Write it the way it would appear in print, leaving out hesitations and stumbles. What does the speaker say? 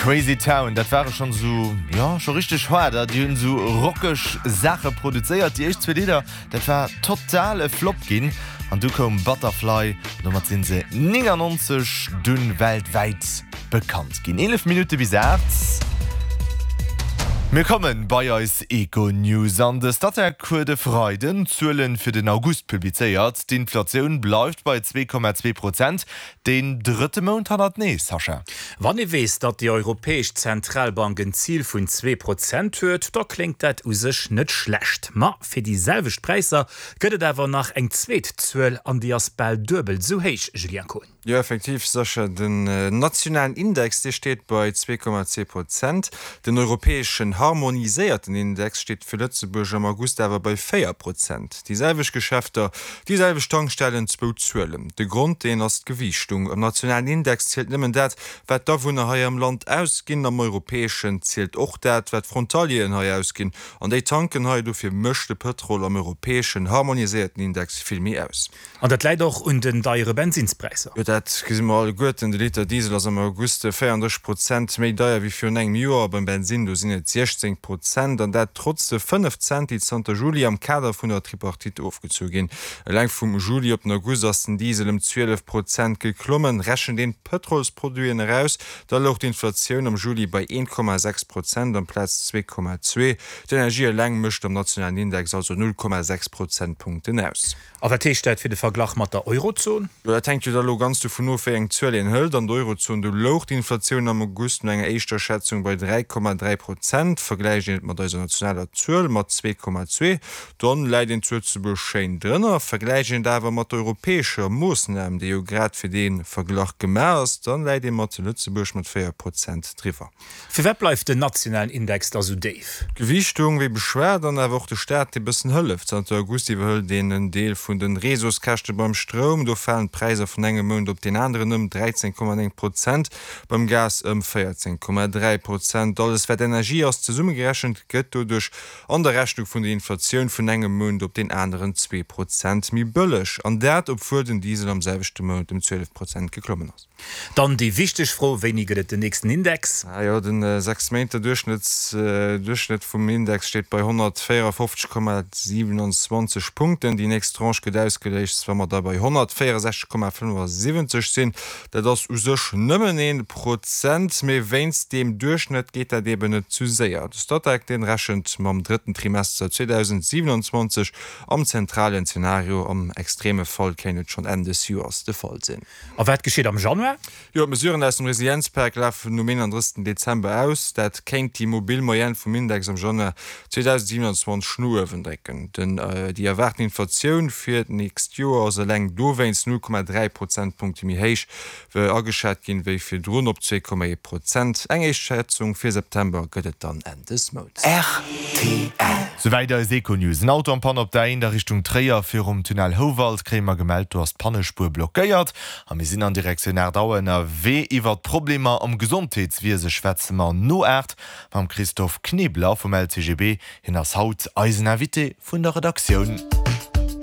Crazy Town, dat ware schonn esou, jo, scho richteg haarder. Déi hunn esou rockeg Saache produzéiert. Déi éischt zwee Lidder, dat war total e Flop ginn. An du koum Butterfly, an domat sinn se 99 dunn weltwäit bekannt ginn. 11 Minutte bis 8. Mir kommen bei eis Econews an de Statec huet e Freiden d'Zuelen fir den August publizéiert. D'Inflatioun bleift bei 2,2 Prozent, deen drëtte Mount hannertenee, Sascha. Wann ee weess, datt déi Europäesch Zentralbank en Zil vun 2% huet, da kléngt dat u sech net schlecht. Ma fir déi selwecht Präisser gëtt et awer nach eng zweet Zuel an déi ass bal duebel esou héich, Julien Kohn. Jo, effektiv, Sascha. Den nationalen Index, dee steet bei 2,2 Prozent. Den europäeschen harmoniséierten Index steet fir Lëtzebuerg am August awer bei 4 Prozent. Déi selwecht Geschäfter, déi selwecht Tankstellen, zwou Zuelen. De Grond, deen ass d'Gewiichtung. Am nationalen Index zielt nëmmen dat, wat d'Awunner hei am Land ausginn. Am europäeschen zielt och dat, wat d'Frontalieren hei ausginn. An déi tanken hei. Dofir mécht de Pëtrol am europäeschen harmoniséierten Index vill méi aus. An dat läit och un den deiere Bensinnspräisser. Jo, dat gesi mer alleguerten. De Liter Diesel ass am August 34 Prozent méi deier wéi virun engem Joer. Beim Bensinn, do sinn et 16 Prozent. An dat trotz de 5 Cent, déi zanter Juli am Kader vun der Tripartite ofgezu ginn. Eleng vum Juli op den August ass den Diesel ëm 12 Prozent geklommen. Rechent een d'Pëtrolsproduiten eraus, da louch d'Inflatioun am Juli bei 1,6 Prozent amplaz 2,2. D'Energie eleng mécht am nationalen Index also 0,6 Prozentpunkten aus. A wat heescht dat fir de Verglach mat der Eurozon? Jo, dat hänkt jo da lo ganz dovun of, wéi eng Zuel een hëlt. An der Eurozon, do louch d'Inflatioun am August no enger éischter Schätzung bei 3,3 Prozent. Vergläicht een et mat eiser nationaler Zuel mat 2,2, dann läit een zu Lëtzebuerg schéin drënner. Vergläicht een et awer mat der europäescher Moossnam, déi jo grad fir dee Verglach gemaach ass, dann läit ee mat Lëtzebuerg mat 4 Prozent driwwer. Firwat bleift den nationalen Index da sou déif? D'Gewiichtung, wéi beschwat, an awer och de Staat, dee bëssen hëlleft. Zanter August iwwerhëlt een en Deel vun den Réseauskäschte beim Stroum. Do falen d'Präisser vun engem Mount op deen aneren ëm 13,9 Prozent, beim Gas ëm 14,3 Prozent. Alles wat Energie ass, zesummegerechent, gëtt doduerch an der Rechnung vun der Inflatioun vun engem Mount op deen aneren 2 Prozent méi bëlleg. An dat, obwuel den Diesel am selwechte Mount ëm 12 Prozent geklommen ass. Dann déi wichteg Fro, Wéini gëtt et den nächsten Index? Ah jo, den 6 Méinte Duerchschnëtts vum Index steet bei 154,27 Punkten. Déi nächst Tranche gëtt ausgeléist, wa mer da bei 164,75 sinn. Dat ass u sech nëmmen ee Prozent, mee wéinst deem Duerchschnëtt geet dat eben net zu séier. De Statec, deen rechent mam drëtten Trimester 2027 am zentralen Zenario. Am extreme Fall kéint et schonn Enn des Joers de Fall sinn. A wat geschitt am Januar? Jo, d'Mesuren aus dem Resilienzpak lafen um 31 Dezember aus. Dat kéint déi mobil Moyenne vum Index am Januar 2027 no uewen drécken. Den déi erwaarten Inflatioun fir d'nächst Joer ass eleng dowéinst 0,3 Prozentpunkte méi héich ageschat ginn, wéi virdrun op 2,1 Prozent. Eng éischt Schätzung fir September gëtt et dann Enn des Mounts. Rtl. Souwäit eis Econews. En Auto en panne op der A1 a Richtung Tréier virum Tunnel Houwald kréie mer gemellt. Do ass d'Pannespuer blockéiert a mir sinn an Direktioun 8 Auer ënnerwee. Iwwert d'Problemer am Gesondheetswiese schwätze mer no 8 mam Christophe Knebler vum LCGB. Hien ass haut eisen Invité vun der Redaktioun.